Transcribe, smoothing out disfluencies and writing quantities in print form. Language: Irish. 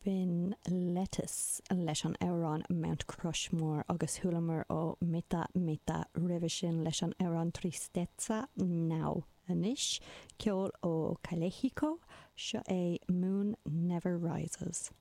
B'in Lettuce leis an amhrán Mount Crushmore agus chualamar ó Meta Meta roimhe sin leis an amhrán Tristeza Now. Anois, ceol ó Calexico, seo é Moon Never Rises.